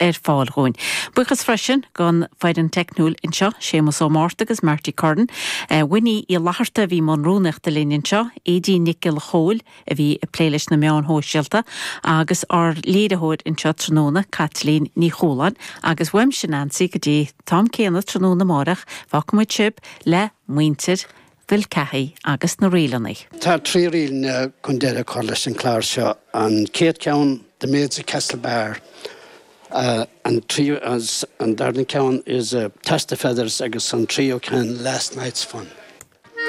Ar fáil dhúinn. Buíochas freisin don foireann teicniúil anseo, Séamus Ó Márta agus Marty Curran, Winnie Uí Fhlatharta a bhí i mbun rúnaíochta linn anseo, Aedín Nic Giolla Chóill a bhí ag plé leis na meáin shóisialta agus ár léiritheoir anseo tráthnóna, Caitlín Ní Chualáin. Agus uaimse Nancy go dtí an t-am céanna tráthnóna amáireach, fágfaimid sibh le muintir Mhill Cathaigh agus na ríleanna. Tá 3 ríleanna chun deireadh a chur leis an chlár seo. An chéad cheann, The Maids of Castlebar, an tríú, an darna ceann is Toss the Feathers agus an tríú ceann Last Night's Fun.